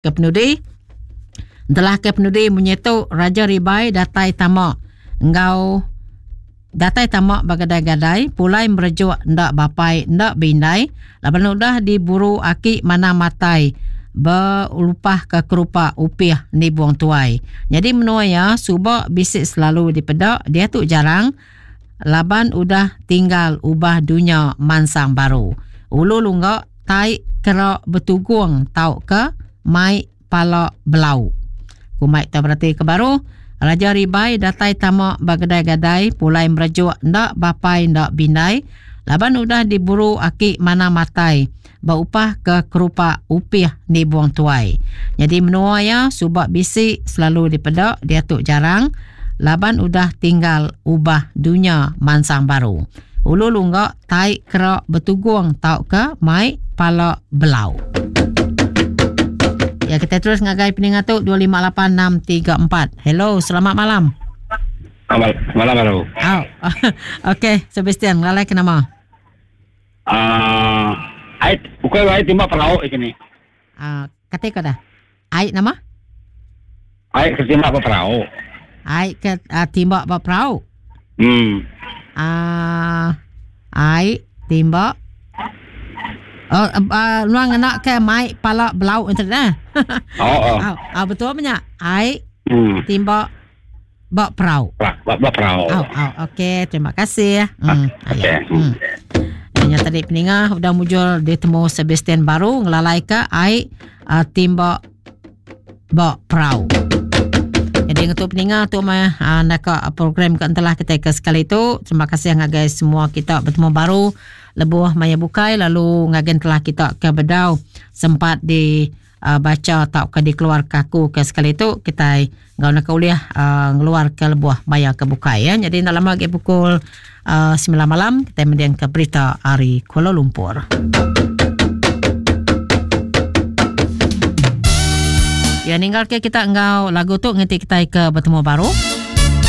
Ke penudi, Entelah ke penudi munyi tu Raja Ribai datai tama enggau datai tama ba gadai-gadai pulai merejuk enda bapai enda beindai laban udah diburu aki manang matai belupah ke kerupak upih nibung tuai. Nyadi menua iya suba bisi selalu dipeda diatu jarang laban udah tinggal ubah dunya mansang baru. Ulu lungga tai kera betugung tauka mai pala belau. Ku mai tau berati ke baru, Raja Ribai datai tama ba gedai-gadai pulai merejuk enda bapai enda bindai laban udah diburu aki manang matai beupah ke kerupak upih nibung tuai. Nyadi menua iya suba bisi selalu dipeda diatu jarang laban udah tinggal ubah dunya mansang baru. Ulu lungga tai kera betugung tauka mai pala belau. Ya kita terus ngagai peninga tu 258634. Hello, selamat malam. Selamat malam baru. Oh. Okey, Sebastian, ngelalai ke nama? Ah, uh, ai bukan ai timbak perau ini. Ah, uh, kata kau dah. Ai nama? Ai ke timbak ba perau. Ai ke uh, timbak ba perau. Hmm. Ah, uh, ai timbak Oh, uh, nuang ngena ke mai pala belau internet eh. Oh, oh. Oh, oh betul punya. Ai timbak ba perau. Ba, ba perau. Oh, oh, okey, terima kasih. Okey. Nya tadi peninga udah mujur ditemu Sebastian baru ngelalai ke ai uh, timbak ba perau. Jadi ngetu peninga tu mah uh, naka program ke entelah kita ke sekali tu. Terima kasih ngagai semua kita bertemu baru lebuh maya bukai lalu ngagai telah kita ke bedau sempat di uh, bacha tauka dikeluarka aku ke sekali tu kitai enggau naka ulih uh, ngeluarka lebuh maya ke bukai ya. Jadi enda lama agi pukul uh, 9 malam kitai mendingka berita ari Kuala Lumpur. Ya ninggal ke kita enggau lagu tu nganti kitai ke betemu baru.